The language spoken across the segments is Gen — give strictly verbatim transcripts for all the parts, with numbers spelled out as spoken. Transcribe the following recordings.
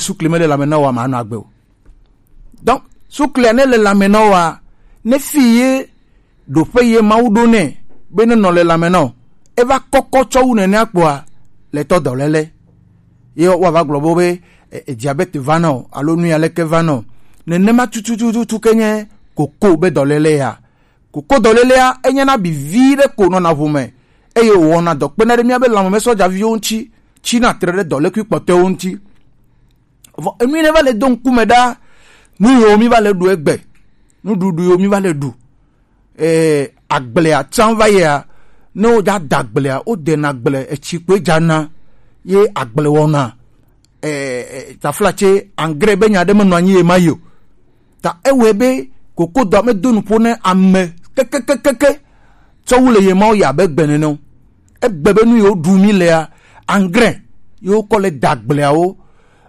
sukli mele lãme na wòa, mànɔ agbe o. Donc suklia ne le lãme na wòa, ne fi ye ɖoƒe ye Mawu ɖo nɛ be nenɔ le lãme na wò, eva kɔkɔ tsɔ wu nenea kpoa, le tɔ dɔléle. Ye woava gblɔ be, be e, e, diabète va na wò alo nu ya leke va na wò. Nenema tutututu ke nye koko be dɔléle ya. Koko dɔlélea, enyena abi vi ɖe ko nɔna ʋu me, eye wòwɔna dɔ kpena ɖe míabe lãmesɔjaviwo ŋuti, tsina tre ɖe dɔlékui kpɔtɔewo ŋuti. Vɔ enu yi ne va le do ŋkume ɖa, nu yiwo mi va le ɖu egbe, nuɖuɖu yiwo mi va le ɖu, eh, agblea tsã va yia, ne woja da agblea, wodena agble, etsi koe dzana, ye agble wɔna. Eh, eh, taflatse, engrais be nya ɖe menɔ anyi ye ma yi o. Ta ewɔe be kokodɔa medo nuƒo ne ame kekekekeke tsɔ wu le ye mawo yi abe gbe nene o. Egbe be nu yiwo ɖu mi lea, engrais yiwo kɔ le da agbleawo.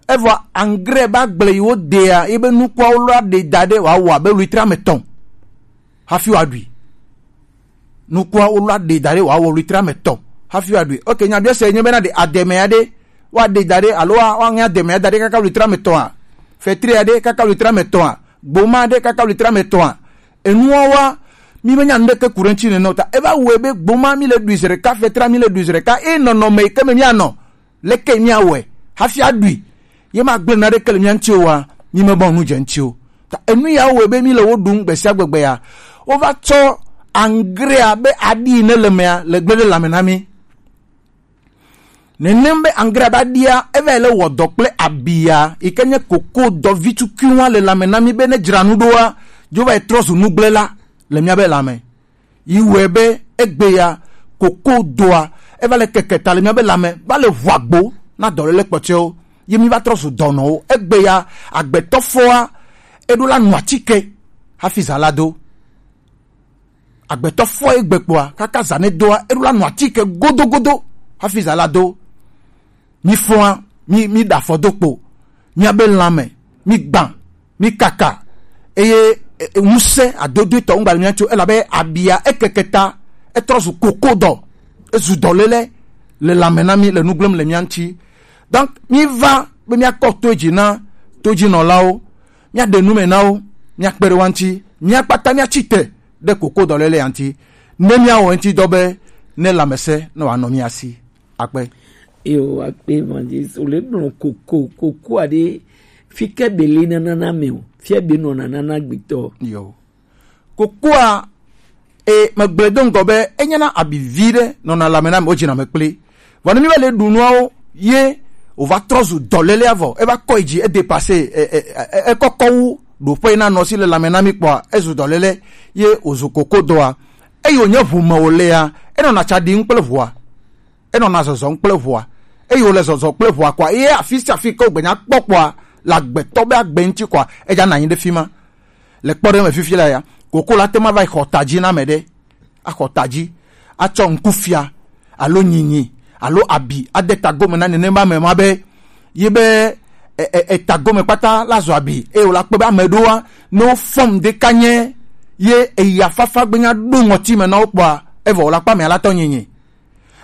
Evɔ engrais be agble yiwo dea, ye be nukuawo la ɖe da ɖe wòawɔ abe litre ame etɔ̃ hafi wòaɖui. Nukua wo la ɖe da ɖe wòawɔ litre ame etɔ̃ hafi wòaɖui. Ok, nya biɔ se nye bena ɖe ademea ɖe woaɖe da ɖe alo woa-, woaŋe ademea da ɖe kaka litre ame etɔ̃a? Fetria ɖe kaka litre ame etɔ̃a? Gboma ɖe kaka litre ame etɔ̃a? Enuawoa, mi menya nu ɖeke ku ɖe ŋuti nene o. Ta eva wɔe be gboma mi le ɖui zi ɖeka, fetria mi le ɖui zi ɖeka, eye nɔnɔme yi ke me mianɔ, leke míawɔe hafi aɖui? Ye magblẽ naɖeke le mía ŋuti oa, mi mebɔ nu dze ŋuti o. Ta enu yawo wɔe be mi le wo ɖum gbe sia gbe gbe ya. Wova tsɔ angrea be aɖi ne le mea le gblẽ ɖe lãme na mi. Nenem be angrea be aɖia eva yi le wɔ dɔ kple abia yi ke nye koko dɔ vi tukuiwa le lãme na mi be ne dzra nu ɖoa, dzo va yi trɔ zu nugblẽla le míabe lãme. Yi wɔe be egbe ya, koko doa, eva le keke ta le míabe lãme, va le ʋu agbo na dɔléle kpɔtɔewo. Ye mi va trɔ zu dɔnɔwo. Egbe ya, agbetɔfɔa, eɖo la nu atike hafi zã la do. Agbetɔfɔa egbe kpoa, kaka zã ne doa, eɖo la nu atike godogodo hafi zã la do. Mi fɔa, mi, mi ɖe afɔ do kpo, miabe lãme, mi gbã, mi kaka, eye, e, e, ŋusẽ adodoetɔ ŋgba le mía ŋuti o, elabe abia ekeke ta, etrɔ zu koko dɔ, ezu dɔléle le lãme na mi le nu gblẽm le mía ŋuti. Donc, mi va be míakɔ to dzi na todzinɔlawo, míaɖe nu me na wo, míakpe ɖe wo ŋuti, mía kpata míatsi te ɖe koko dɔléle ya ŋuti, ne míawɔ ŋuti dɔ be ne lãmesẽ ne wòanɔ mía si. Akpe. Yo, akpe evangeliste. Wòle gblɔ koko, koko aɖe fi ke be le nanana me o. Fia be nɔ nanana gbetɔ. Yo. Kokoa, e, megblɔe do ŋgɔ be enyena abi vi ɖe nɔna lãme na ame, wodzina me kpli. Vɔ ne mi va le ɖu nuawo, ye wòva trɔ zu dɔlélea vɔ. Eva kɔ yi dzi, edepase, e, e, e, e, ekɔkɔ wu ɖoƒe na nɔ si le lãme na mi kpɔa, ezu dɔlélé, ye wòzu kokodɔa. Eye wònye ʋu me wòlea, enɔna tsa ɖim kple ʋua. Enɔna zɔzɔm kple ʋua. Eye wòle zɔzɔ kple ʋua kɔa, ye afi sia afi ke wògbenya kpɔ kpɔa, le agbetɔ be agbe ŋuti kɔa, edzana anyi ɖe fi ma. Le kpɔɖeŋu me fifi la ya, koko la te ma va yi xɔ ta dzi na ame ɖe, axɔ ta dzi, atsɔ ŋkufia, alo nyinyi, alo abi, ade ta gome na nenema ame ma be, ye be, e, e, e, ta gome kpata la zɔ abi, eye wòla kpɔ be ame ɖoa, ne wofɔm ɖeka nye, ye eya fafa gbenya ɖo ŋɔti me na wo kpɔa, evɔ wòla kpɔ amea la tɔ nyinyi.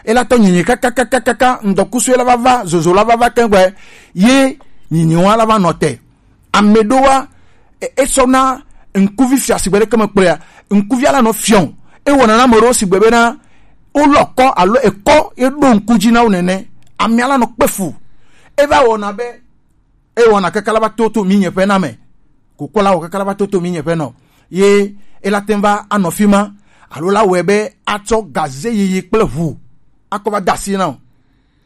Ela tɔ nyinyi kakakakaka, ŋdɔkusue la va va, zozo la va va keŋ gbe, ye nyinyi wa la va nɔ te. Ame ɖowa, e, esɔna ŋkuvi fia sigbe ɖeke me kplɔea, ŋkuvia la nɔ fiɔ. Ewɔna na ame ɖewo sigbe bena, wolɔ kɔ alo ekɔ ye ɖo ŋku dzi na wo nene. Amea la nɔ kpe fu. Eva wɔna be, ewɔna kaka la va toto mi nye ƒe na me. Koko la wɔ kaka la va toto mi nye ƒe nɔ. Ye ela te va anɔ fi ma, alo la wɔe be atsɔ gaze yiyi kple ʋu akɔ va da asi na o.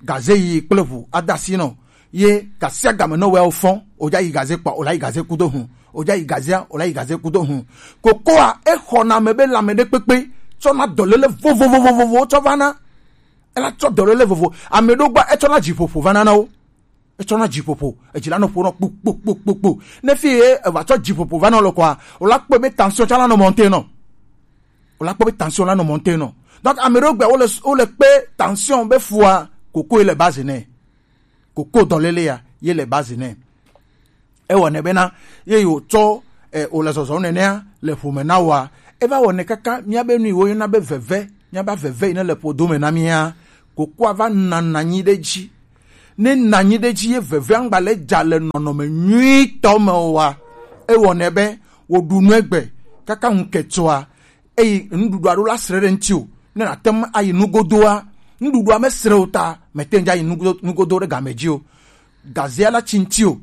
Gaze yiyi kple ʋu ada asi nɔ. Ye gasiagame ne wòawo fɔ, wòdza yi gaze kpɔ, wòla yi gaze kudo hu. Wòdza yi gazea, wòla yi gaze kudo hu. Kokoa, exɔna ame be lãme ɖe kpekpe, tsɔna dɔléle vovovovovowo tsɔ vana. Ela tsɔ dɔléle vovo. Ame ɖewo gbɔ, etsɔna dziƒoƒo vana na wo. Etsɔna dziƒoƒo. Edzi la nɔ ƒo nɔ kpokpokpokpokpo. Ne fi ye eva tsɔ dziƒoƒo vana le kɔa, wòla kpɔe be tension tsã la nɔ monter nɔ. Wòla kpɔ be tension la nɔ monter nɔ. Donc, ame ɖewo gbea, wole, wole kpe tension be fua, koko ye le base nɛ. Koko dɔléle ya, ye le base nɛ. Ewɔnɛ bena, ye yewo tsɔ, eh, wòle zɔzɔm nenea, le ƒome na wòa. Eva wɔnɛ kaka, míabe nu yi woyɔna be veve, míabe veve yi ne le ƒodo me na mía, kokoa va nana anyi ɖe edzi. Ne nanyi ɖe dzi ye veve angba le dza le nɔnɔme nyuitɔ me oa, ewɔ nɛ be wo ɖu nu egbe kaka ŋu ketsɔa, eyi nuɖuɖua ɖo la sre ɖe ŋuti o. Ne nàte ŋu ayi nugodoa, nuɖuɖua mesre o ta, mète ŋu dza yi nugo- nugodo ɖe game dzi o. Gazea la tsi ŋuti o.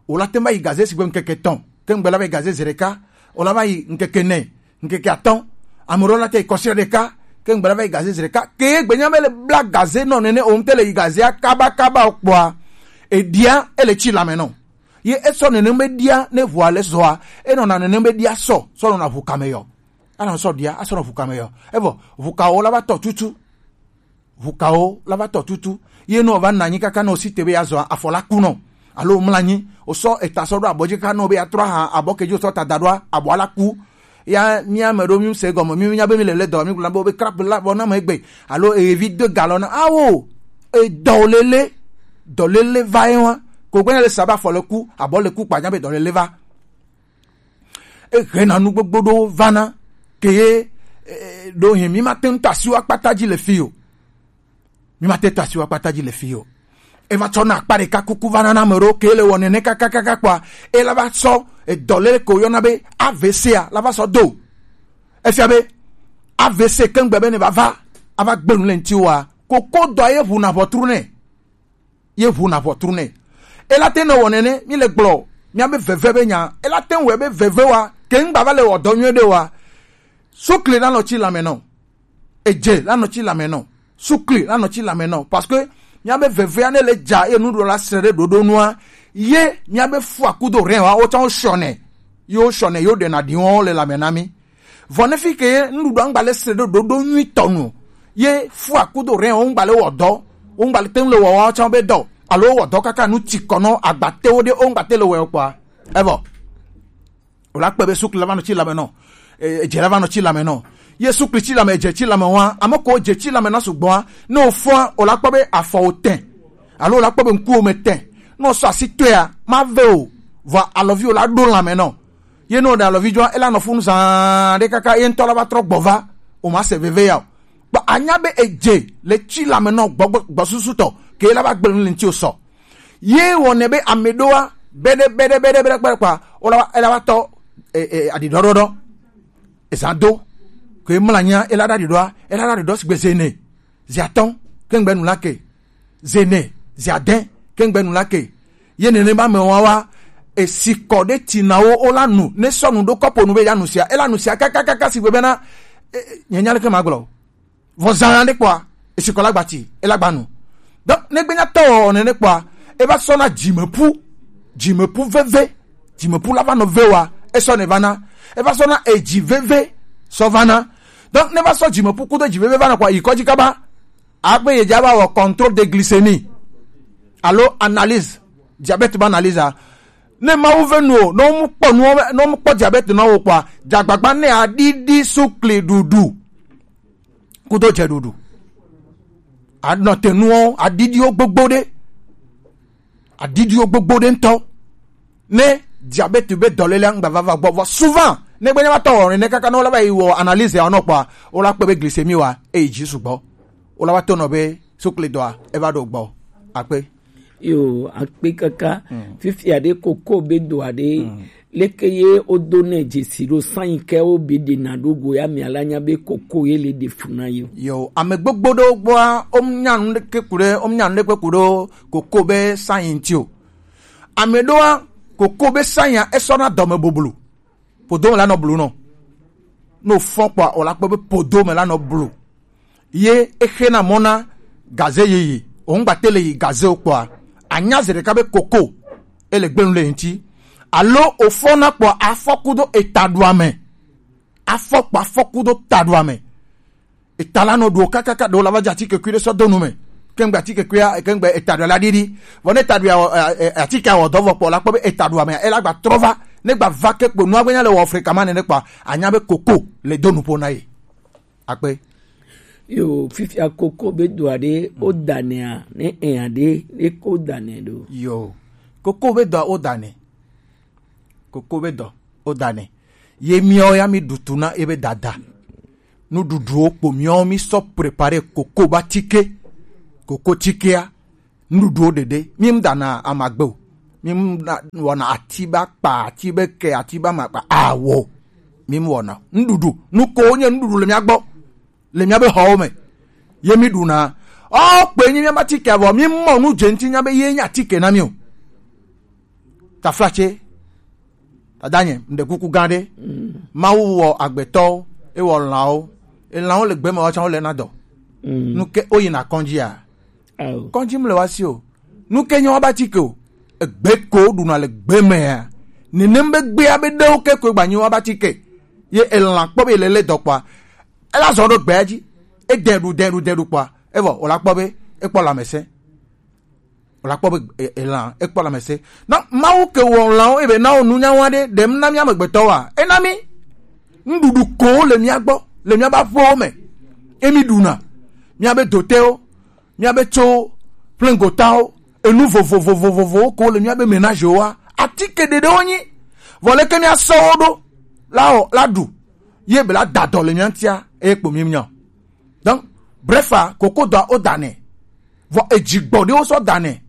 O la te ŋu va yi gaze sigbe ŋkeke etɔ̃, ke ŋgbe la va yi gaze zi ɖeka, o la va yi ŋkeke ene, ŋkeke atɔ̃, ame ɖewo la te yi kɔsiɖa ɖeka, ke ŋgbe la va yi gaze zi ɖeka, ke gbe nya be le bla gaze nɔ nene o, ŋte le yi gazea kaba kaba o kpɔa, eɖia ele tsi lame nɔ. Ye esɔ nenem be ɖia ne ʋua le zɔa, enɔna nenem be ɖia sɔ, sɔ nɔna ʋu kame yɔ. Anɔ sɔ ɖia, asɔ nɔ ʋu kame yɔ. Evɔ, ʋu kawo la va tɔ tutu. Ʋu kawo la va tɔ tutu. Ye ne o va na anyi kaka ne o si te be ya zɔa, afɔ la ku nɔ. Alo o mla anyi, o sɔ eta sɔ ɖo abɔ dzi kaka ne o be ya trɔ aha, abɔ ke dzi o sɔ ta da ɖoa, abɔa la ku. Ya mi ame ɖewo mi se gɔme, mi nya be mi le le dɔ, mi gblɔ be o be krap la bɔ na me egbe. Alo evi de galɔ na. Awo, edɔ lele, dɔ lele va ye wa. Ko gbe nya le sa be afɔ le ku, abɔ le ku kpa nya be dɔ lele va. Ehena nu gbogbo ɖewo vana, ke ye, eh, ɖo hin mi ma te ŋu to asi wo akpata dzi le fi o. Mi ma te to asi wo akpata dzi le fi o. Eva tsɔ na akpa ɖeka kuku vana na ame ɖewo ke le wɔ nene kakakaka kpɔa, ela va sɔ edɔ le ke woyɔna be A V C a la va sɔ do. Efia be A V C ke ŋgbe be ne va va ava gbe nu le ŋuti woa, koko dɔ ye ʋu na ʋɔtru nɛ. Ye ʋu na ʋɔtru nɛ. Ela te nɔ wɔ nene, mi le gblɔ, mia be veve be nya, ela te wɔ be veve wa, ke ŋgba va le wɔ dɔ nyuie ɖe wa. Sukli la nɔ tsi lame nɔ. Edze la nɔ tsi lame nɔ. Sukli la nɔ tsi lame nɔ. Parce que mia be vevea ne le dza ye nuɖuɖu la sre ɖe ɖoɖo nua, ye mia be fu akudo rɛ wa, wo tsã wo shɔ nɛ. Yo shɔ nɛ, yo ɖe na ɖi wɔn le lame na mi. Vɔ ne fi ke ye nuɖuɖua ŋgba le sre ɖo ɖoɖo nyuitɔ nu, ye fu akudo rɛ wo ŋgba le wɔ dɔ, wo ŋgba le te ŋu le wɔ wa tsã be dɔ, alo wɔ dɔ kaka nu tsi kɔ nɔ agbatewo ɖe wo ŋgba te le wɔ kpɔa. Evɔ. O la kpɔe be sukli la va nɔ tsi lame nɔ. E, edze la va nɔ tsi lame nɔ. Ye sukli tsi lame, edze tsi lame wa, ame ko dze tsi lame na sugbɔa, ne o fɔa, o la kpɔ be afɔ o tɛ. Alo o la kpɔ be ŋku o me tɛ. Ne o sɔ asi tɔea, ma ve o. Vɔ alɔvi o la ɖo lame nɔ. Ye ne o ɖe alɔvi dzɔa, ela nɔ funu zaa ɖe kaka ye ŋutɔ la va trɔ gbɔ va, o ma se veve ya o. Kpɔ anya be edze le tsi lame nɔ gbɔ, gbɔ, gbɔsusutɔ, ke la va gble nu le ŋuti o sɔ. Ye wɔ nɛ be ame ɖoa, beɖe, beɖe, beɖe, beɖe, kpɛ kpa, o la va, ela va tɔ, e, e, aɖiɖɔɖɔɖɔ. Eza do. Ke mla nya, ela ɖa aɖiɖɔa, ela ɖa aɖiɖɔ sigbe zene. Zi atɔ̃, ke ŋgbe nu la ke. Zene, zi adẽ, ke ŋgbe nu la ke. Ye nene ba me wa wa, esi kɔ ɖe ti na wo, o la nu, ne sɔ nu ɖo kɔpo nu be ya nu sia, e la nu sia kakakaka si gbe bena, e, e, nye nya leke ma gblɔ. Vɔ zã ɖe kpɔa, esi kɔ la gba ti, e la gba nu. Donc, ne gbe nya tɔ wɔ nene kpɔa, e va sɔ na dzimepu, dzimepu veve, dzimepu la va nɔ ve wa, e sɔ ne va na, e va sɔ na edzi veve, sɔ va na. Donc, ne va sɔ dzimepu kudo dzi veve va na kpɔa, yi kɔdzi kaba, Agbe ye dza va wɔ contrôle de glycémie alo analyse, diabète be analyse a. Ne Mawu ve nu o, ne wo mu kpɔ nuwo, ne wo mu kpɔ diabète nɔ wo kpɔa, dzagbagba ne aɖiɖi sukli ɖuɖu kudo dze ɖuɖu. Anɔ te nuwo aɖiɖiwo gbogbo ɖe. Aɖiɖiwo gbogbo ɖe ŋutɔ. Ne diabète be dɔléle ŋgba va va gbɔ, vɔ souvent, ne gbe ne va tɔ wɔ ne kaka ne wo la va yi wɔ analyse ya nɔ kpɔa, wo la kpɔ be glycémie wa eyi dzi sugbɔ. Wo la va to nɔ be sukli dɔa e va ɖo gbɔ. Akpe. Yo, akpe kaka. Mm. Fifia ɖe koko be dɔa ɖe. Mm. Leke ye wo do ne dzesi ɖo sanyi ke wo be ɖe na ɖo go ya mi ala nya be koko ye le ɖe fu na yo. Yo, ame gbogbo ɖewo gbɔa, wo nya nu ɖeke ku ɖe, wo nya nu ɖeke ku ɖe koko be sanyi ŋuti o. Ame ɖoa, koko be sanya esɔna dɔme boblo. Podo me la nɔ blu nɔ. No fɔn kpɔa, o la kpɔ be podo me la nɔ blu. Ye exe na mɔ na gaze yeye. O ŋgba te le yi gaze o kpɔa, anya ze ɖeka be koko ele gbenu le ŋuti. Alo o fɔna kpɔa, afɔ kudo eta ɖu ame. Afɔ kpɔ afɔ kudo ta ɖu ame. Eta la nɔ ɖu o kakaka ɖewo la va dze atike kui ɖe sɔ do nu me. Kengbe atike kuia, kengbe eta ɖe la ɖiɖi. Vɔ ne eta ɖe awɔ, e, e, atike awɔ dɔ vɔ kpɔ la kpɔ be eta ɖu ame, ela gba trɔ va. Ne gba va ke kpo nua gbe nya le wɔ fre kama nene kpɔa, anya be koko le do nuƒo na ye. Akpe. Yo, fifia koko be dɔa ɖe, o danea, ne ea ɖe, ne ko dane ɖo. Yo, koko be dɔa o dane. Koko be dɔ, o dane. Ye miawo ya mi ɖu tu na ebe dada. Nuɖuɖuwo kpo miawo mi sɔ préparer koko ba tike. Koko tikea. Nuɖuɖuwo ɖeɖe, mi mu dana amagbe o. Mi mu na- wɔna ati ba kpa, ati be ke, ati ba ma kpa. Awo. Mi mu wɔna. Nuɖuɖu. Nuko nye nuɖuɖu le mia gbɔ. Le mia be xɔwo me. Ye mi ɖuna. Ɔ, kpe nyi mia ba tike avɔ. Mi mɔ nu dze ŋuti nya be ye nya tike na mi o. Taflatse. Dadanye, mɖe kuku gã ɖe. Mawu wɔ agbetɔwo, ewɔ lãwo. Elãwo le gbe me, woawo tsã wole na dɔ. Nu ke woyina kɔdzi a? Ao. Kɔdzi mle woasi o. Nu ke nye woabatike o. Egbe ko woɖuna le gbe mea. Nenem be gbea be ɖewo ke koe gbanyi woabatike. Ye elã kpɔ be le le dɔ kpɔa, ela zɔ ɖo gbea dzi. Edɛ ɖu, dɛ ɖu, dɛ ɖu kpɔa, evɔ wòla kpɔ be ekpɔ lãmesẽ. Wòla kpɔ be e- elã ekpɔ lãmesẽ. Na Mawu ke wɔ lãwo ebe na wo nunyawa ɖe ɖem na mía amegbetɔwoa? Ena mí nuɖuɖu ko le mía gbɔ, le míabe aƒewo me. Emi ɖuna míabe dotewo, míabe tsowo, ƒlẽgotawo, enu vovovovovovowo ko le míabe menagewoa, atike ɖeɖewo nyi. Vɔ leke míasɔ wo ɖo la wɔ la ɖu ye be la da dɔ le mía ŋutia, eye kpo míenya o. Donc, bref, a, kokodɔa wodanɛ. Vɔ edzi gbɔɖiwo sɔ danɛ.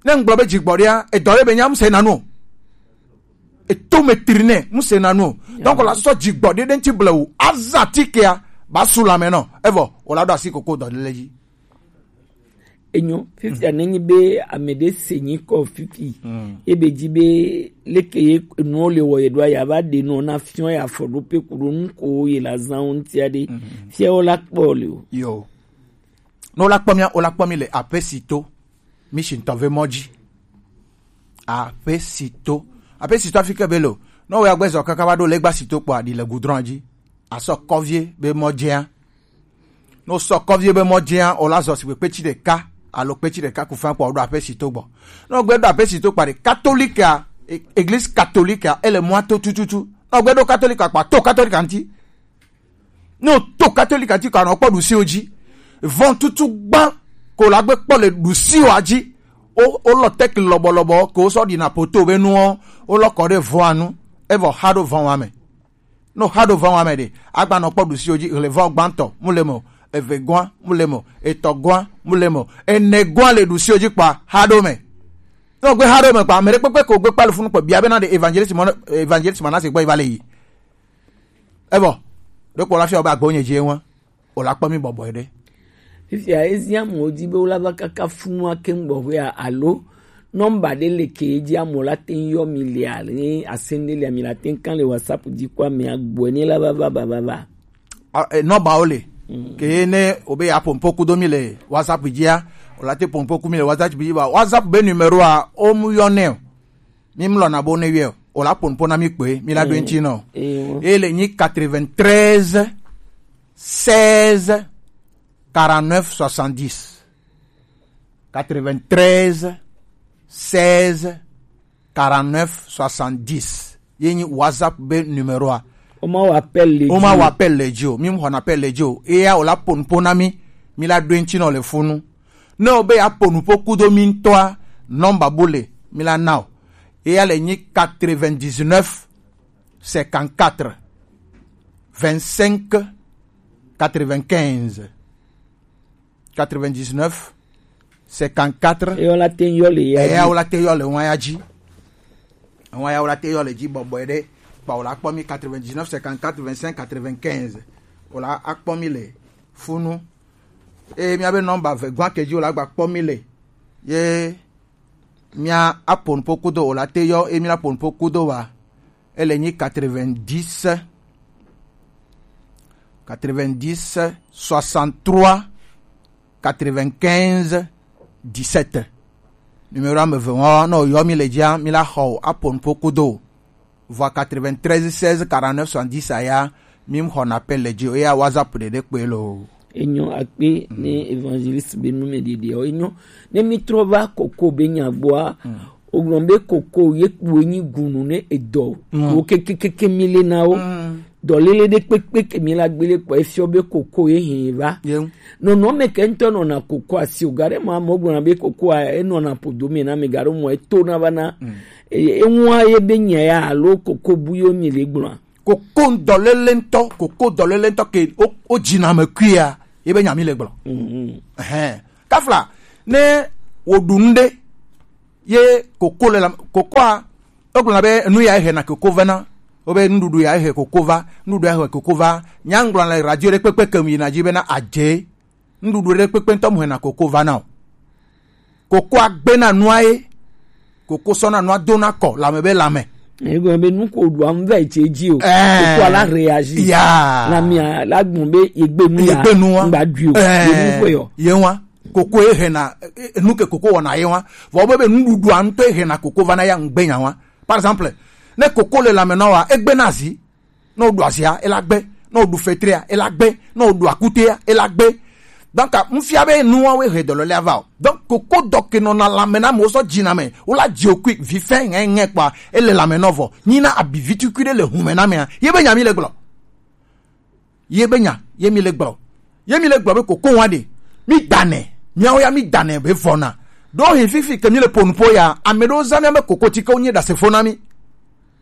Ne ŋgblɔ be dzi gbɔɖia, edɔ ɖe be nya muse nanu o. Eto me tri nɛ muse nanu o. Donc la sɔ dzi gbɔɖi ɖe ŋuti blewu. Azã tikea ba su lãme nɔ. Evɔ wòla ɖo asi kokodɔ ɖe le dzi. Enyo, fifia nenyi be ame ɖe se nyi kɔ fifi, ebe dzi be leke ye enuwo le wɔ ye ɖoa, ya va ɖe nɔ na fiɔ ya fɔ ɖo pe ku ɖo nu ko ye la zã wo ŋutia ɖe, fia wo la kpɔ le o. Yo. Ne wola kpɔ mía, wola kpɔ mí le aƒe si to. Mí si ŋutɔ ve mɔ dzi. Aƒe si to. Aƒe si to afi ke be lo. Ne wo ya gbɛ zɔ kaka va ɖo legba si to kpɔ aɖi le goudron dzi. Asɔ kɔvie be mɔ dzia. Ne wosɔ kɔvie be mɔ dzia, wola zɔ si kpetsi ɖeka alo kpetsi ɖeka ku fã kpɔ woɖo aƒe si to gbɔ. Ne wogbe ɖo aƒe si to kpa ɖe katolika, e- église katolika, ele mɔa to tututu. Ne wogbe ɖo katolika kpa to katolika ŋuti. Ne wòto katolika ŋuti ko anɔ kpɔ ɖusiwo dzi. Vɔn tutu gbã ko la gbe kpɔ le ɖusiwoa dzi. Wo wolɔ tɛkli lɔbɔlɔbɔ ko wosɔ ɖina poto be nuwo, wolɔ kɔ ɖe vɔa nu. Evɔ xa ɖo vɔn wa me. Ne wòxa ɖo vɔn wa me ɖe, agba nɔ kpɔ ɖusiwo dzi. Hle vɔn gbãtɔ mu le me o, eve gɔa mu le me o, etɔ gɔa mu le me o, ene gɔa le ɖusiwo dzi kpɔa, xa ɖo me. Ne wògbe xa ɖo me kpɔa, ame ɖe kpekpe ko gbe kpa le funu kpɔ bia be na ɖe evangeliste mɔ evangeliste mɔ na se gbɔ yi va le yi. Evɔ ɖo kpɔ la fia be agbo nye dzi ewa. Wòla kpɔ mí bɔbɔe ɖe. Fifia ezi amewo di be wola va kaka funua keŋ gbɔxwea alo nɔmba ɖe le ke dzi amewo la te ŋu yɔ mi lea, ne asem ɖe lea mi la te ŋu kan le WhatsApp dzi kɔ amea gbɔe ne la va va va va va. A- e, nɔmbawo le. Ke ne wobe ya pompo kudo mi le WhatsApp dzia, wòla te pompo ku mi le WhatsApp dzi ba WhatsApp be numéro a o mu yɔ nɛ o. Mi mlɔ na bo ne wiɛ o la pon pon na mi kpe mi la do ŋuti nɔ. Eye le nyi quatre-vingt-treize seize quarante-neuf soixante-dix. Quatre-vingt-treize seize quarante-neuf soixante-dix. Ye nyi WhatsApp be numéro a. O ma wa appel le o ma wa appel le dzi o. Mi mu xɔna appel le dzi o. Eya o la pon pon na mi. Mi la do ŋuti nɔ le funu. Ne o be ya pon po kudo mi ŋutɔa, nɔmba bu le mi la na o. Eya le nyi quatre-vingt-dix-neuf cinquante-quatre vingt-cinq quatre-vingt-quinze. Quatre-vingt-dix-neuf cinquante-quatre. Eya o la te yɔ le ya eya o la te yɔ le waya dzi. Waya o la te yɔ le dzi bɔbɔe ɖe. Kpa o la kpɔ mi quatre-vingt-dix-neuf cinquante-quatre vingt-cinq quatre-vingt-quinze. O la akpɔ mi le funu. Eye miabe nɔmba ve gɔa ke dzi o la gba kpɔ mi le. Ye mia apon po kudo o la te yɔ e mi la pon po kudo wa. Ele nyi quatre-vingt-dix, quatre-vingt-dix, soixante-trois, quatre-vingt-quinze, dix-sept. Numéro ame ve ŋɔ ne o yɔ mi le dzia mi la xɔ o apon po kudo. Vɔa quatre-vingt-treize seize quarante-neuf soixante-dix aya mi xɔ na appel le dzi o eya WhatsApp ɖeɖe kpe lo. Enyo akpe ne évangéliste be nu me ɖeɖea o enyo. Ne mi trɔ va koko be nya gbɔa, o gblɔ be koko ye kpo enyi gunu ne edɔ wo kekekeke mi le na wo. Dɔlele ɖe kpekpe ke mi la gbele kpɔ efiɔ be koko ye hɛn va. Nɔnɔ me ke ŋutɔ nɔna koko asi o gaɖe ma mo gblɔna be koko a enɔna podo me na me gaɖo mɔ eto na va na. Eŋua ye be nya ya alo koko bu yo mi le gblɔa. Koko dɔlele ŋutɔ koko dɔlele ŋutɔ ke o o dzina me kuia ye be nya mi le gblɔ. Ɛhɛn. Kafla ne Wo ɖu nu ɖe, ye koko le la, kokoa, wogblɔna be nu ya he na koko vana. Wobe nuɖuɖu ya he koko va, nuɖuɖu ya he koko va. Nya ŋgblɔna le radio ɖe kpekpe ke mu yina dzi bena adze, nuɖuɖu ɖe kpekpe ŋutɔ mu hena koko vana o. Kokoa gbena nua ye, koko sɔna nua dona kɔ lame be lame. Egɔme be nu ko ɖua nu va yi tse dzi o. Ɛɛ. Kokoa la réagir. Ya. Na mia la gbɔn be yegbe nu ya. Yegbe nua. Ŋgba dui o. Ɛɛ. Ye nu ko yɔ. Ye wa. Koko ye hena, eh, eh, nu ke koko wɔna ye wa. Vɔ be be nuɖuɖua ŋutɔ ye hena koko vana ya ŋgbe nya wa. Par exemple, ne koko le lame na wa, egbe na zi. Ne woɖu azia, ela gbe. Ne woɖu fetria, ela gbe. Ne woɖu akutea, ela gbe. Donc, mfia be nuwawe he dɔlɔle ava o. Donc, koko dɔ ke nɔna lame na amewo sɔ dzina me. Wola dzi o kui vi fɛ ŋɛ ŋɛ kpa, ele lame nɔ vɔ. Nyina abi vitukui ɖe le hume na mea. Ye be nya mi le gblɔ. Ye be nya, ye mi le gblɔ. Ye mi le gblɔ be koko wa ɖe. Mi danɛ. Miawo ya mi danɛ be vɔna. Ɖo hin fifi ke mi le ponu po ya, ame ɖewo zã mia be koko tike wo nye ɖasefo na mi.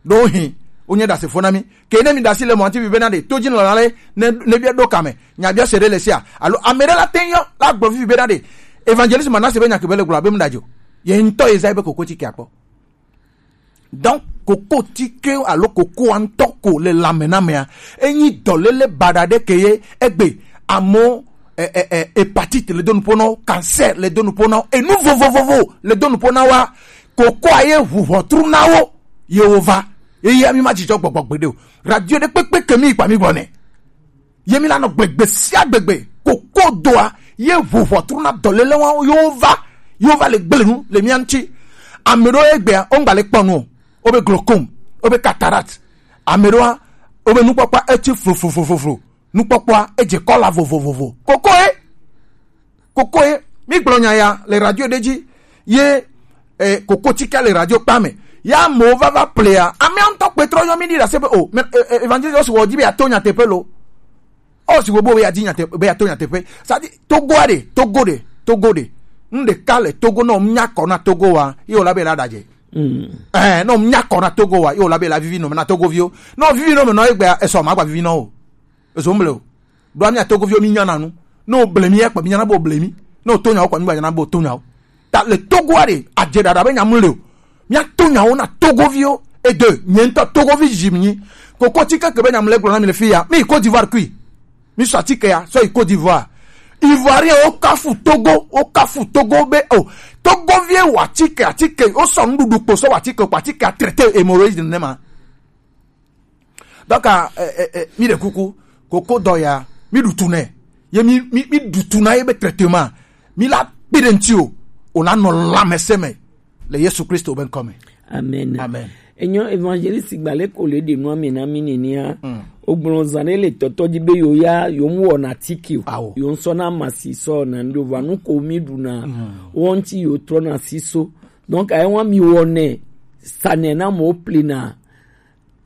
Ɖo hin, wo nye ɖasefo na mi. Ke ne mi ɖasi le mɔ ŋuti bi bena ɖe, to dzi nɔla le, ne, ne bia ɖo kame, nya bia se ɖe le sia. Alo ame ɖe la te yɔ, la gblɔ fifi bena ɖe, Evangeliste Manasseh be nya ke be le gblɔ be mu ɖa dzo. Ye ŋutɔ ye zã be koko tike akpɔ. Donc, koko tike alo koko ŋutɔ ko le lame na mea, enyi dɔlele baɖa ɖe ke ye egbe amo, eh, eh, eh, hépatite le do nupo na wo, cancer le do nupo na wo, enu vovovovo le do nupo na wa, kokoa ye ʋu ʋɔtru na wo, ye wo va. Ye ya mi ma dzidzɔ gbɔgbɔ gbeɖe o. Radio ɖe kpekpe ke mi kpa mi gbɔ nɛ. Ye mi la nɔ gbegbe sia gbegbe, koko doa, ye ʋu ʋɔtru na dɔlele wa, yo va, yo va le gble nu le mia ŋuti. Ame ɖewo egbea, wo ŋgba le kpɔ nu o. Wo be glaucome, wo be cataracte. Ame ɖewoa, wo be nukpɔkpɔa etsi flu, flu, flu, flu, flu. Nukpɔkpɔa edze kɔla vovovovo. Koko ye, koko ye, mi gblɔ nya ya le radio ɖe dzi. Ye, eh, koko tike le radio kpa me. Ya amewo va va plea. Amea ŋutɔ kpe trɔ yɔ mi ɖi ɖase be o, mais, eh, eh, évangéliste, o si wɔ di be ato nyateƒe lo. O si wɔ bo be adi nyateƒe, be ato nyateƒe. Ça dit, Togo a ɖe, Togo ɖe, Togo ɖe. Ŋɖeka le Togo, nɔ nya kɔ na Togo wa, ye o la be la ɖadze. Mm. Eh, nɔ nya kɔ na Togo wa, ye o la be la vivi nɔ me na Togo viwo. Nɔ vivi nɔ me nɔ egbe, esɔ ma gba vivi nɔ o. Ezo mble o. Ɖo amia Togoviwo mi nyana nu. Ne wo ble mi ya kpa mi nyana be wo ble mi. Ne wo to nyawo kpa mi gba nyana be wo to nyawo. Ta le Togo a ɖe, adze ɖaɖa be nya mu le o. Mia to nyawo na Togoviwo. E de, nye ŋutɔ Togovi zi mi nyi. Koko tike ke be nya mu le gblɔ na mi le fi ya. Mi yi Côte d'Ivoire kui. Mi sɔ atike ya, sɔ yi Côte d'Ivoire. Ivoirien wo kafu Togo, wo kafu Togo be o. Togovie wa atike, atike, wo sɔ nuɖuɖu kpo sɔ wa atike, kpa atike a traité hémorroïde ne ma. Donc, ah, eh, eh, eh, mi ɖe kuku, koko dɔ ya, mi ɖu tu nɛ. Ye mi, mi, mi ɖu tu na ye be traitement. Mi la kpi ɖe ŋuti o, o la nɔ lãmesẽ me le Yesu Kristo be ŋkɔ me. Amen. Amen. Enyo évangéliste gba le ko le ɖe nua me na mi nenea. Mm. O gblɔ zã ɖe le tɔtɔ dzi be yo ya, yo mu wɔna tiki o. Awo. Yo ŋsɔ na masi sɔ na ndo va nu ko mi ɖu na. Mm. Wo ŋuti yo trɔ na si so. Donc, ayi wa mi wɔnɛ, sanɛ na mo plena.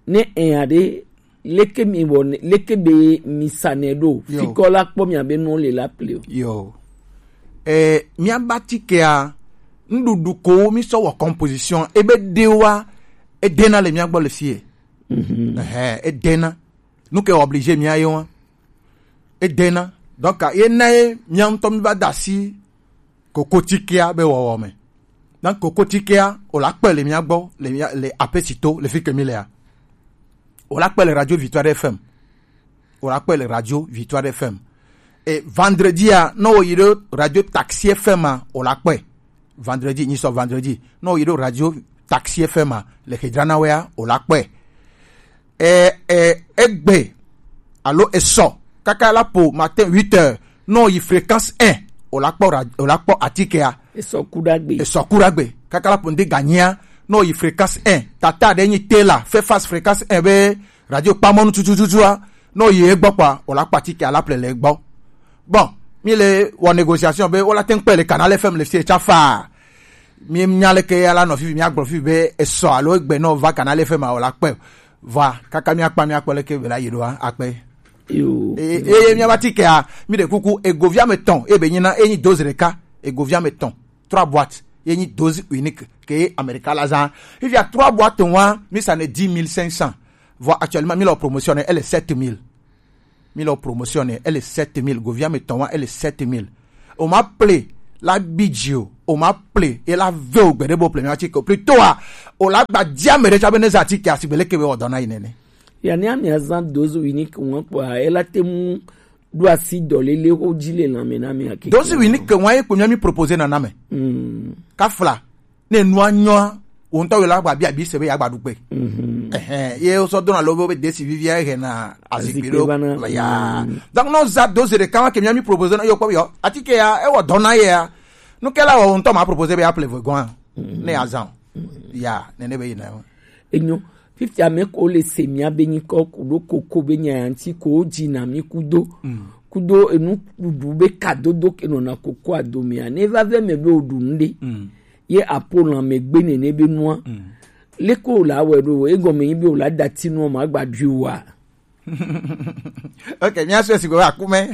Ne enya ɖe, leke mi wɔ ne, leke be mi sa nɛ ɖo? Yo. Fikɔ la kpɔ mia be nɔ le la ple o. Yo. Eh, mia ba tikea, nuɖuɖu ko mi sɔ wɔ composition, ebe ɖewa, edena le mia gbɔ le fie. Mhm. Ehe, edena. Nu ke obligé mia ye wa. Edena. Donc, ye na ye mia ŋutɔ mi va da asi kokotikea be wɔwɔ me. Donc kokotikea, o la kpɔe le mia gbɔ, le mia, le Apesito, le fi ke mi lea. O la kpɔe le Radio Victoire F M. O la kpɔe le Radio Victoire F M. Et vendredi a, ne o yi ɖo Radio Taxi F M a, o la kpɔe. Vendredi, nyisɔ vendredi. Ne o yi ɖo Radio Taxi F M a, le Hedrana wea, o la kpɔe. E, e, egbe, alo esɔ, kaka la po matin huit heures, ne o yi fréquence un, o la kpɔ ra-, o la kpɔ atikea. Esɔ ku ɖagbe. Esɔ ku ɖagbe. Kaka la po ŋde ganyia, ne o yi fréquence un. Tata ɖe nyi Tela, fais face fréquence un be radio kpamɔnu tutututua, ne o yi egbɔ kpɔa, o la kpɔ atikea la ple le egbɔ. Bon, mi le wɔ négociation be, o la te ŋ kpɔe le Canal F M le fie tsa faa. Mi nya leke ya la nɔ fifi, mi agblɔ fifi be esɔ alo egbe nɔ va Canal F M a, o la kpɔe. Vɔa, kaka míakpa míakpɔ leke be la yi ɖoa, akpe. Yo. Eye, eye míaba tikea, mi ɖe kuku, egovia me tɔn, ebe nyina, enyi dose ɖeka, egovia me tɔn, trois boîtes, ye nyi dose unique, ke Amerika la zã. Fifia trois boîtes wa, mi sa ne dix mille cinq cents. Vɔ actuellement, mi le promotion, elle est sept mille. Mi le promotion, elle est sept mille. Govia me tɔn wa, elle est sept mille. O ma ple, la bi dzi o, o ma ple, e la ve o gbeɖe bo ple mi atike o. Plutôt a, o la gba dzi ame ɖe tsa be ne zã atike a, sigbe leke be wɔ dɔ na yi nene. Ya ne amia zã dose unique ŋua kpɔa, e la te mu ɖo asi dɔléle xo dzi le lãme na mi ake. Dose unique ŋua ye kpo mi mi proposer na na me. Mm. Kafla, ne nua nyɔa, wo ŋutɔ wo la gba bia bi se be ya gba ɖu kpe. Mhm. Ɛhɛn, ye wo sɔ dona lo be desi vivia he na azikpi ɖo. Azikpi va na. Ya. Mm. Donc, no za dose ɖeka ma ke mi mi proposer na yo kpɔ yo. Atike ya, e wɔ dɔ na ye ya. Nu ke la wɔ ŋutɔ ma proposer be ya ple vɔ gɔn. Mm. Ne ya zã. Mm. Ya, nene be yi na. Enyo, fifia me ko le se mia be nyikɔ ku ɖo koko be nya ya ŋuti ko dzi na mi kudo. Mm. Kudo enu ɖuɖu be kadodo ke nɔna koko adomea. Ne va ve me be o ɖu nu ɖe. Mm. Ye apo lãme gbe nene be nua. Mm. Leke o la wɛ ɖo, egɔme nyi be o la dati nua ma gba ɖui wa. Ok, mi asɔ si go akume.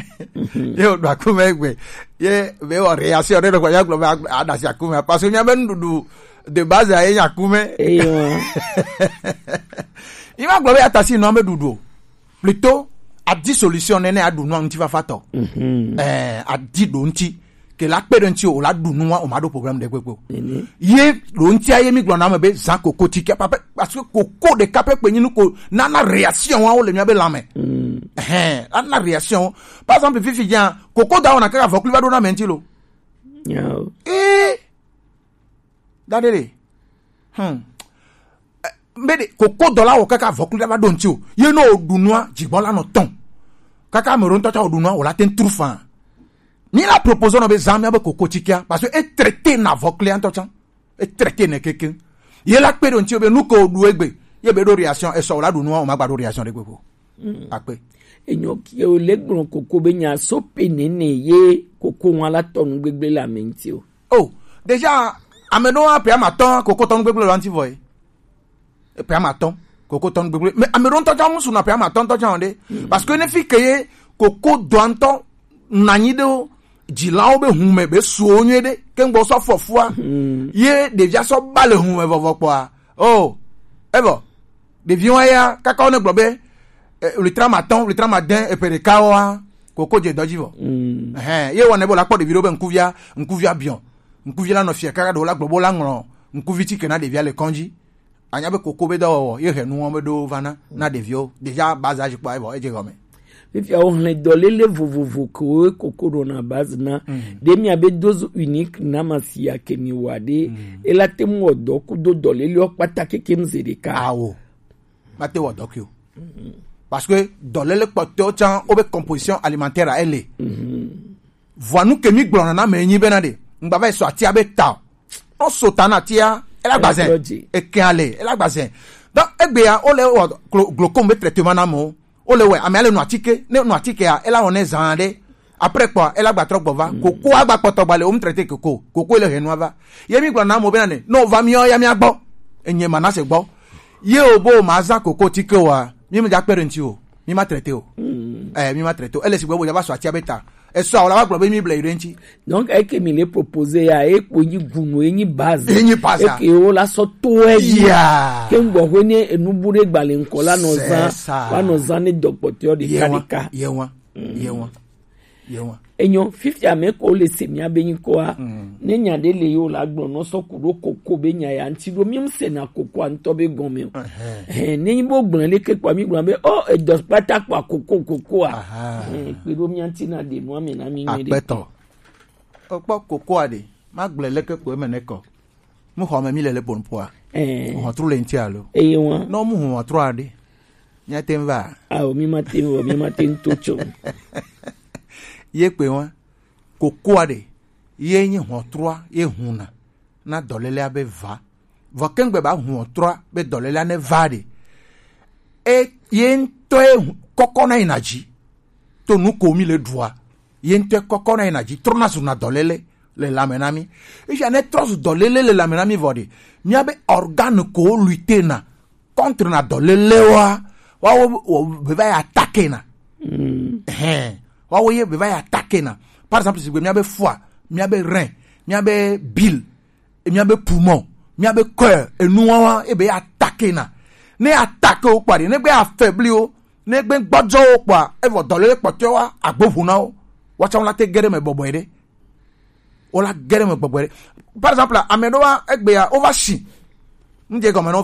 Ye o do akume gbe. Ye be o reaction de ko ya glo be adasi akume. Parce que mi abe nuɖuɖu de base a ye akume. Eyo. Ima glo be atasi no me ɖuɖu. Plutôt a di solution nene a ɖu nu ŋuti fafa tɔ. Mhm. Eh, a di ɖo ŋuti. Ke la kpe ɖe ŋuti o, o la ɖu nua, o ma ɖo problème ɖe kpekpe o. Nene. Ye ɖo ŋutia ye mi gblɔ na ame be zã koko tike, pa-, pa-, parce que koko ɖeka pɛ kpe nyi nu ko nana réaction wa wo le mia be lãme. Mm. Ɛhɛn, ana réaction. Par exemple, fifi dza, koko da wɔna kaka vɔkli va ɖo na ame ŋuti lo. Nyao. Ee. Da ɖe ɖe. Hmm. Eh, mbe ɖe, koko dɔ la wɔ kaka vɔkli va ɖo ŋuti o. Ye no o ɖu nua, dzigbɔ la nɔ tɔn. Kaka ame ɖo ŋutɔ tsa o ɖu nua, o la te ŋu tru fan. Mi la proposer nɔ be zã mia be koko tsikea, parce que e traité na vɔklia ŋutɔ tsã. E traité nɛ kekeŋ. Ye la kpe ɖo ŋuti be nu ke o ɖu egbe. Ye be ɖo réaction, e sɔ o la ɖu nua, o ma gba ɖo réaction ɖe kpekpe o. Mm. Akpe. Enyo ke o le gblɔ koko be nya so pe nene ye koko wa la tɔ nu gbegble le ame ŋuti o. Oh, déjà, ame ɖewo apɛ ama tɔn koko tɔ nu gbegble le ŋuti vɔ ye. Pɛ ama tɔn koko tɔn gbegble. Mais ame ɖewo ŋutɔ tsã musu na pɛ ama tɔn tɔ tsã o ɖe. Mm. Parce que ne fi ke ye koko dɔa ŋutɔ nanyi ɖe o, dzilawo be hume be suo nyuie ɖe, ke ŋgbɔ sɔ fɔfua. Mm. Ye ɖevia sɔ ba le hume vɔvɔ kpɔa. Oh, evɔ. Ɖeviwo ya, kaka wo ne gblɔ be, eh, wlitra ma tɔn, wlitra ma dɛn, eƒe ɖeka woa, koko dze dɔ dzi vɔ. Mm. Ɛhɛn, ye wɔnɛ be la kpɔ ɖevi ɖo be ŋkuvia, ŋkuvia biɔ. Ŋkuvi la nɔ fia kaka ɖewo la gblɔ be wo la ŋlɔ ŋkuvi tike na ɖevia le kɔdzi. Anya be koko be dɔwɔwɔ, ye hɛ nuwo be ɖo va na, na ɖeviwo. Déjà, base âge kpɔ, evɔ, edze gɔme. Fifia wo hlẽ dɔléle vovovo ke wo koko ɖona base na. Mm. Ɖe mia be dose unique na ma si ya ke mi wa ɖe. Mm. E la te mu wɔ dɔ kudo dɔléle wo kpata keke mu ze ɖeka. Awo. Ma te wɔ dɔ ke o. Mm. Parce que dɔléle kpɔtɔewo tsã, wo be composition alimentaire a ele. Mm. Vɔa nu ke mi gblɔna na ame nyi bena ɖe, ŋgba va yi sɔ atia be ta o. No so ta na atia, ela gbazɛ. Ela gbazɛ. Eke ale, ela gbazɛ. Donc, egbea, wo le wɔ glo-, glaucome be traitement na amewo. Wo le wɛ, amea le nu atike, ne nu atikea, ela wɔ ne zã ɖe. Après kpɔa, ela gba trɔ gbɔ va. Mm. Koko agba kpɔtɔ gba le, wo mu traité koko. Koko le henu ava. Ye mi gblɔ na amewo bena ne, no va miɔ ya mia gbɔ. Enye Manase gbɔ. Ye o bo ma zã koko tike wa, mi me ja kpe ɖe ŋuti o. Mi ma traité o. Mm. Eh, mi ma traité o. Ele si gbɔ bo ja va sɔ atia be ta. Esɔ, awo la va gblɔ be mi ble yi ɖe ŋuti. Donc, eke mi le proposer ya, e kpo nyi gunu, e nyi base. E nyi base. Eke wo la sɔ to e dzi. Yeah. Ke ŋgbɔ hwe ne enu bu ɖe gba le ŋkɔ la nɔ zã, c'est ça, wa nɔ zã ne dɔkpɔtɔ ɖeka ɖeka. Ye wa, ye wa, ye wa. Enyo, fifia me ko le se mia be nyikɔa. Mm. Ne nya ɖe le yo la gblɔ nɔ sɔ ku ɖo koko be nya ya ŋuti ɖo, mi mu se na kokoa ŋutɔ be gɔme o. Ɛhɛn. Ɛhɛn, ne nyi bo gblɔ le ke kpɔ mi gblɔ be, oh, edɔ kpata kpɔ koko kokoa. Aha. Ɛhɛn, kpe ɖo mia ŋuti na ɖe nua me na mi nyuie ɖe. Akpɛtɔ. Okpɔ kokoa ɖe, ma gblɔe leke ko eme ne kɔ. Mu xɔ me mi le le bon poa. Eh. Hɔntru le ŋuti alo. Eye wa. No mu hɔntru aɖe. Mia te ŋu va. Ao, mi ma te ŋu vɔ, mi ma te ŋu to tso. Ye kpe wa. Kokoa ɖe, ye nyi hɔntrua, ye huna. Na dɔlélea be va. Vɔ kengbe ba hɔntrua be dɔlélea ne va ɖe. E, ye ŋutɔ ye hu-, kɔkɔ na yi na dzi. To nu ko mi le ɖua. Ye ŋutɔ kɔkɔ na yi na dzi, trɔna zuna dɔléle le lãme na mi. Efia ne trɔ zu dɔléle le lãme na mi vɔ ɖe, mia be organe ko lutter na contre na dɔlélewoa, wa wo, wo be va yi attaquer na. Mm. Ɛhɛn. Wa wo ye be va yi attaquer na. Par exemple, sigbe mia be foie, mia be rein, mia be bile, mia be poumon, mia be cœur, enuwawa, e be attaquer na. Ne attaquer wo kpɔ ɖe, ne gbe affaiblir wo, ne gbe gbɔdzɔ wo kpɔa, evɔ dɔléle kpɔtɔewa agbo ʋu na wo. Wa tsã wo la te ge ɖe me bɔbɔe ɖe. O la gere me gbɔgbɔ ɖe. Par exemple, ame ɖo wa egbe ya o va si. N je gɔme nɔ